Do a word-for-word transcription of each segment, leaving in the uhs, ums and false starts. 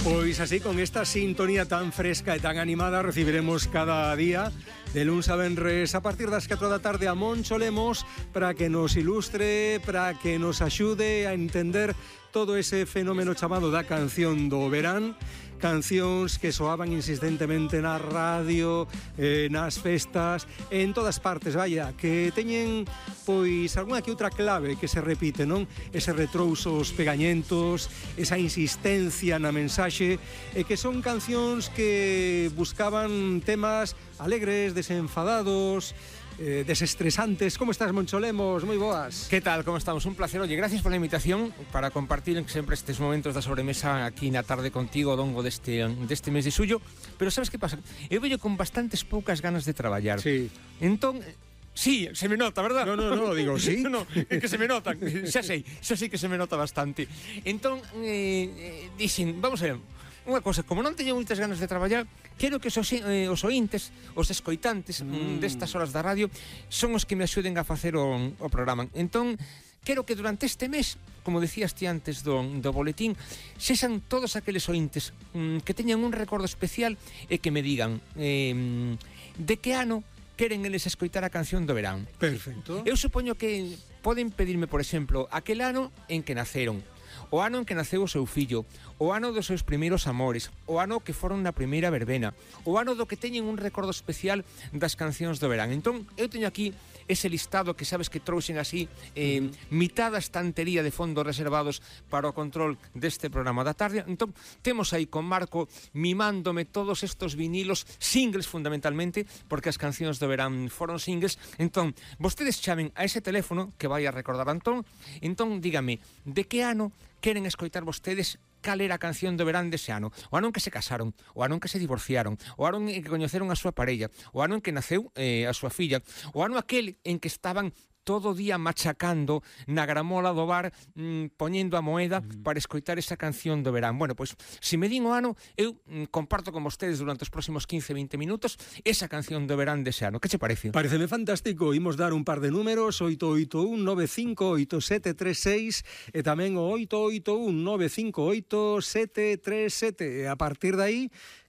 Pois así, con esta sintonía tan fresca e tan animada, recibiremos cada día de luns a venres a partir das catro da tarde a Moncho Lemos para que nos ilustre, para que nos axude a entender todo ese fenómeno chamado da canción do verán. Cancións que soaban insistentemente na radio, eh, nas festas, en todas partes, vaya, que teñen pois algunha que outra clave que se repite, non? Ese retrousos pegañentos, esa insistencia na mensaxe, e que son cancións que buscaban temas alegres, desenfadados, Eh, desestresantes. Como estás, Moncho Lemos? Moi boas. Que tal? Como estamos? Un placer. Oye, gracias por la invitación para compartir sempre estes momentos da sobremesa aquí na tarde contigo, dongo deste, deste mes de suyo. Pero sabes que pasa? Eu veño con bastantes poucas ganas de traballar. Sí. Entón... Sí, se me nota, verdad? No, no, no, digo, sí. No, é que se me notan, xa sei, xa sei que se me nota bastante. Entón, eh, eh, dixen, vamos a ver, unha cosa, como non teño moitas ganas de traballar, quero que os, eh, os ointes, os escoitantes mm. destas horas da radio son os que me axuden a facer o, o programa. Entón, quero que durante este mes, como decías ti antes do, do boletín, sexan todos aqueles ointes mm, que teñan un recordo especial e que me digan eh, de que ano queren eles escoitar a canción do verán. Perfecto. Eu supoño que poden pedirme, por exemplo, aquel ano en que naceron, o ano en que naceu o seu fillo, o ano dos seus primeiros amores, o ano que foron na primeira verbena, o ano do que teñen un recordo especial das cancións do verán. Entón, eu teño aquí ese listado que sabes que trouxen así eh, mm. mitad da estantería de fondos reservados para o control deste programa da tarde. Entón, temos aí con Marco mimándome todos estos vinilos, singles fundamentalmente, porque as cancións do verán foron singles. Entón, vostedes chamen a ese teléfono que vai a recordar Antón. Entón, dígame, de que ano queren escoitar vostedes cal era a canción do verán dese ano? O ano en que se casaron, o ano en que se divorciaron, o ano en que coñeceron a súa parella, o ano en que naceu eh, a súa filla, o ano aquel en que estaban todo o día machacando na gramola do bar, mmm, poñendo a moeda mm. para escoitar esa canción do verán. Bueno, pois, se me din o ano, eu mmm, comparto con vostedes durante os próximos quince a veinte minutos esa canción do verán dese ano. Que che parece? Pareceme fantástico. Imos dar un par de números, oito oito un nove cinco oito sete tres seis e tamén o oito oito un nove cinco oito sete tres sete. E a partir de aí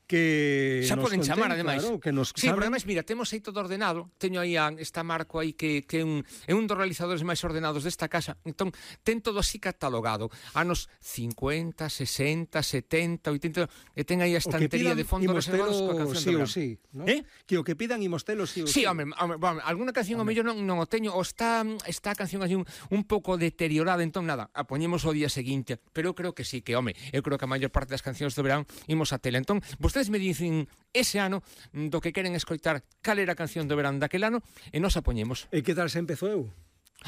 que xa poden conten, chamar, ademais. Claro, que nos sí, pero ademais, mira, temos aí todo ordenado. Teño aí a, esta Marco aí que, que é, un, é un dos realizadores máis ordenados desta casa. Entón, ten todo así catalogado. Anos cincuenta, sesenta, setenta, oitenta, e ten aí a estantería de fondos reservados coa canción sí do verán. Sí, ¿no? Eh? Que o que pidan imostelo sí o sí. Sí, home, home, home alguna canción o mellor non, non o teño, ou está, está a canción así un, un pouco deteriorada, entón nada, a poñemos o día seguinte. Pero eu creo que sí, que home, eu creo que a maior parte das cancións do verán imos a tela. Entón, vostedes me dicen ese ano do que queren escoitar cal era a canción do verán daquel ano e nos a poñemos. E que tal se empezou eu?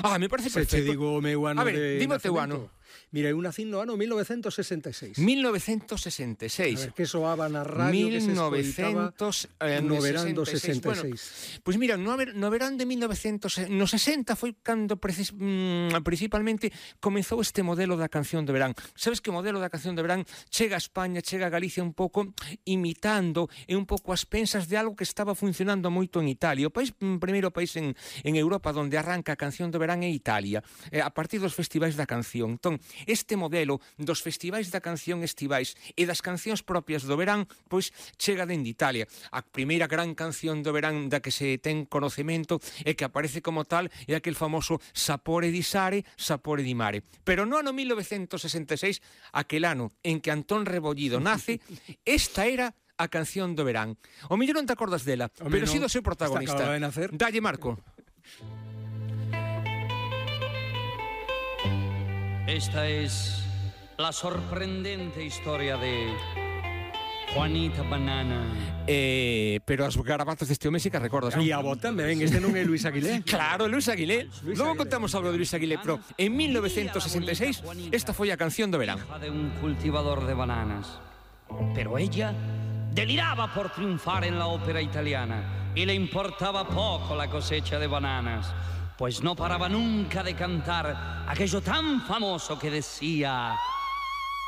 Ah, me parece perfecto. Se che digo o meu ano a ver, de dime o teu nacemento. ano. Mira, eu nacín no ano mil novecientos sesenta e seis. mil novecientos sesenta e seis. A ver, que soaba na radio, que se escoitaba no verán do sesenta e seis. Bueno, pois mira, no, no verán de mil novecientos sesenta foi cando precis, mm, principalmente comezou este modelo da canción de verán. Sabes que o modelo da canción de verán chega a España, chega a Galicia un pouco imitando e un pouco as pensas de algo que estaba funcionando moito en Italia. O país, mm, primeiro país en, en Europa onde arranca a canción de verán é Italia, eh, a partir dos festivais da canción. Entón, este modelo dos festivais da canción estivais e das cancións propias do verán, pois chega dende Italia. A primeira gran canción do verán da que se ten conocemento e que aparece como tal é aquel famoso Sapore di Sare, Sapore di Mare. Pero no ano mil novecientos sesenta e seis, aquel ano en que Antón Rebollido nace, esta era a canción do verán. O mellor non te acordas dela, Home, pero no, si do seu protagonista. Está acababa de nacer. Dalle, Marco. Esta es la sorprendente historia de Juanita Banana. Eh, pero as garabatos deste home sí que recordas, non? E a vos tamén, este non é Luis Aguilé. Claro, Luis Aguilé. Luis Logo Aguilé. contamos algo de Luis Aguilé, pero en mil novecientos sesenta e seis esta foi a canción do verán. Hija de un cultivador de bananas. Pero ella deliraba por triunfar en la ópera italiana y le importaba poco la cosecha de bananas, pues no paraba nunca de cantar aquello tan famoso que decía: